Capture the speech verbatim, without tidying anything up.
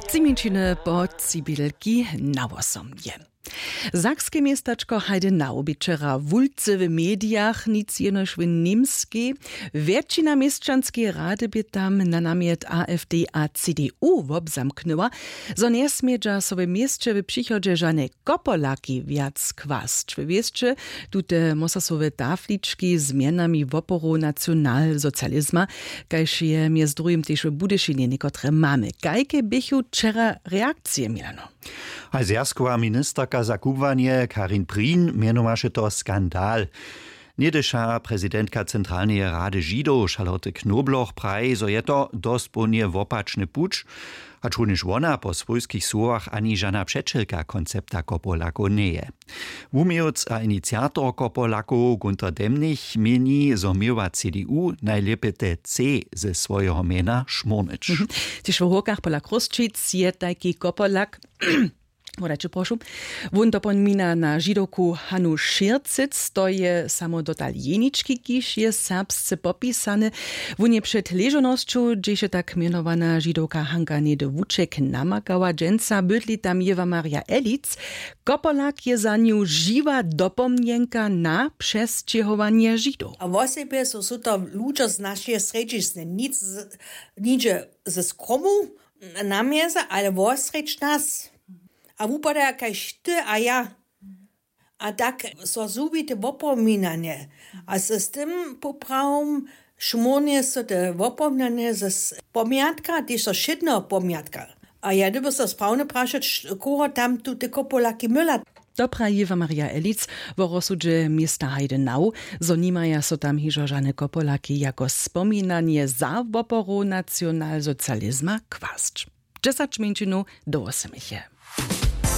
Tři mjeńšiny po cibilki na wosomje. Sakske městačko Heidenau bě wčera wulce w medijach, nic jenož w Němskej. Wjetšina měšćanskeje rady bě tam na namjet A F D a C D U wobzamknyła, zo njesmědźa so w měsće w přichodźe žane kopolaki wjac kwasć. W wěsće tute mosasowe taflički z mjenami woporow nacionalsocializma, kaž je mjez druhim tež w Budyšinje někotre mamy. Kajke běchu wčera reakcije, Milano? A zwjazkowa ministerka za kubłanje Karin Prien mjenowaše to skandal. Něhdyša prezidentka Centralneje rady Židow Charlotte Knobloch praji, zo je to dospołnje wopačny puć, hačrunjež wona po swójskich słowach ani žana přećelka koncepta kopolakow njeje. Wuměłc a iniciator kopolakow Gunter Demnig měni, zo měła C D U najlěpje te C ze swojeho mjena šmórnyć. Tež w hórkach pola Chrósćic je tajki kopolak. Wodajće prošu. Wón dopomina na Židowku Hanu Šěrcec, to je samo dotal jenički, kiž je serbsce popisany. Wón je před ležownosću, hdźež je tak mjenowana Židowka Hanka něhdy wuček namakała, dźensa bydli tam Jěwa Marja Elic. Kopolak je za nju žiwa dopomnjenka na přesćěhowanje Židow. A wosebje su, su to ludźo z našeje srjedźizny, nic z, nihdźe ze skromu na mjeze, ale wosrjedź nas. A wupadaja kaž ty a ja. A tak so zhubi te wopominanje. A z, z tym poprawom šmórnje so te wopominanje z pomjatka, tež so wšědneho pomjatka. A ja dyrbju so sprawne prašać, koho tam tu te kopolaki myla. To praji Jěwa Marja Elic wo rozsudźe města Heidenau, zo nimaja so tam hižo žane kopolaki jako spominanje za woporow nacionalsocializma kwasć. Dźesać mjeńšinow do wosomich je.